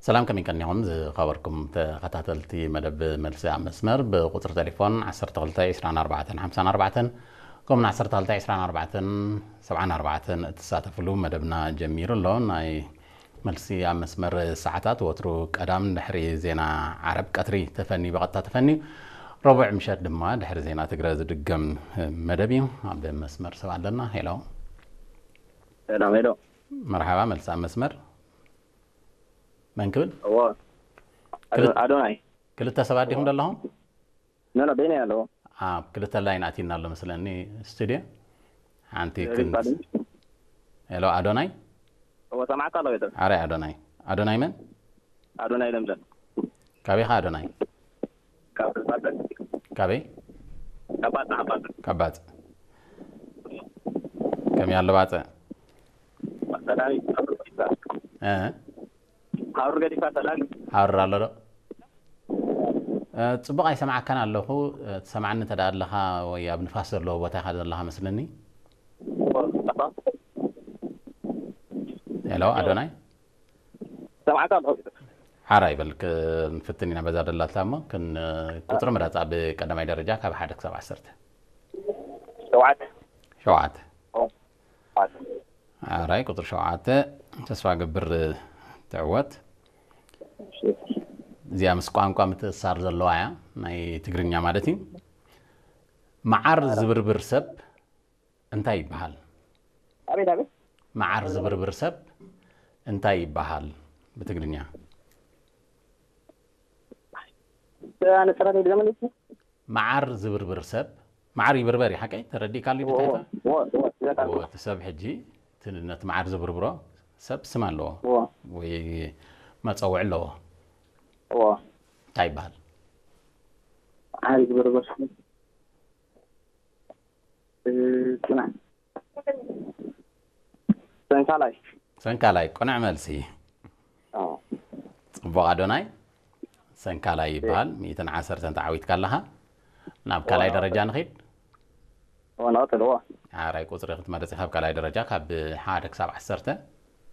ሰላም፣ ከመይ ቀኒኹም ዝኸበርኩም ተኸታተልቲ መደብ መልሲ ኣብ መስመር? ብቁጽሪ ቴሌፎን ዓሰርተ ክልተ ዕስራን ኣርባዕተን ሓምሳን ኣርባዕተን፣ ከምኡውን ዓሰርተ ክልተ ዕስራን ኣርባዕተን ሰብዓን ኣርባዕተን እትሳተፍሉ መደብና ጀሚሩ ኣሎ። ናይ መልሲ ኣብ መስመር ሰዓታት ወትሩ ቀዳም ድሕሪ ዜና ዓረብ ቀትሪ ተፈንዩ፣ ብቐጥታ ተፈንዩ፣ ረቡዕ ምሸት ድማ ድሕሪ ዜና ትግረ ዝድገም መደብ እዩ። ኣብ መስመር ሰብ ኣለና። ሄሎ። ሰላም፣ ሄሎ። መርሓባ፣ መልሲ ኣብ መስመር። መን ክብል? እዎ። ኣዶ-፣ ኣዶናይ። ክልተ ሰባት ዲኹም ዘለኹም? ኖ፣ ኖ፣ በይነይ ኣለዎ። ኣብ ክልተ ላይን ኣቲና ኣሎ መስለኒ ስቱድዮ። ሓንቲ ሪፋ ክንት-፣ ድምፅ። ሄሎ፣ ኣዶናይ? እዎ፣ ሰማዕካ ኣለዎ፣ ቤተሰብ። ኣረ ኣዶናይ። ኣዶናይ መን? ኣዶናይ ለምለም። ካበይ ኢኻ ኣዶናይ? ካብ ባጽዕ። ካበይ? ካብ ባጽዕ፣ ካብ ባጽዕ። ካብ ባጽዕ። ከመይ ኣሎ ባጽዕ? ሰላም፣ ካብ ባጽዕ። እ? ሃሩር ገዲፍካ ሰላም። ሃሩር ኣሎ ዶ? እ፣ ጽቡቕ ኣይሰማዕካን ኣለኹ። እ፣ ትሰማዕኒ እንተ ደኣ ኣለኻ ወይ ኣብ ንፋስ ዘለዎ ቦታ ኢኻ ዘለኻ መስለኒ። ሄሎ፣ ኣዶናይ? ሰማዕካ ኣለኹ። ሓራ ይበል፣ ክንፍትን ኢና በዛ ደላትላ እሞ፣ ክን-፣ ቁጽሪ ምረጽ ኣብ ቀዳማይ ደረጃ ካብ ሓደ ክሳብ ዓሰርተ። ሸውዓተ። ሸውዓተ። ሸውዓተ። ኣራይ፣ ቁጽሪ ሸውዓተ፣ ተስፋ ገብር ትዕወት። እዚኣ ምስ ቋንቋ ምትእስሳር ዘለዋ እያ፣ ናይ ትግርኛ ማለት እዩ። መዓር ዝብርብር ሰብ እንታይ ይበሃል? ኣቤት፣ ኣቤት። መዓር ዝብርብር ሰብ እንታይ ይበሃል ብትግርኛ? ኣነ ጥራት እዩ ዝመለስ። መዓር ዝብርብር ሰብ፣ መዓር ይብርበር እዩ፣ ሓቀይ? ተረዲእካሉ እዎ፣ ብታይታ? እዎ፣ እዎ፣ እዎ፣ እዎ። እዎ፣ እቲ ሰብ ሕጂ፣ እቲ ነቲ መዓር ዝብርብሮ ሰብ ስም ኣለዎ። እዎ። ወይ መጸውዒ ኣለዎ። እዎ። እንታይ ይበሃል? መዓር ዝብርብር ሰብ። እ፣ ጽናሕ። ሰንካላይ። ሰንካላይ፣ ቅኑዕ መልሲ። ጽቡቕ ኣዶናይ፣ ሰንካላይ ይበሃል። ሚእትን ዓሰርተን ተዓዊትካ ኣለኻ። ናብ ካልኣይ ደረጃ ንኺድ። እዎ፣ ንቐጽል፣ እዎ። ኣራይ ቁጽሪ ክትመርጽ ኢኻ፣ ካብ ካልኣይ ደረጃ ካብ ሓደ ክሳብ ዓሰርተ።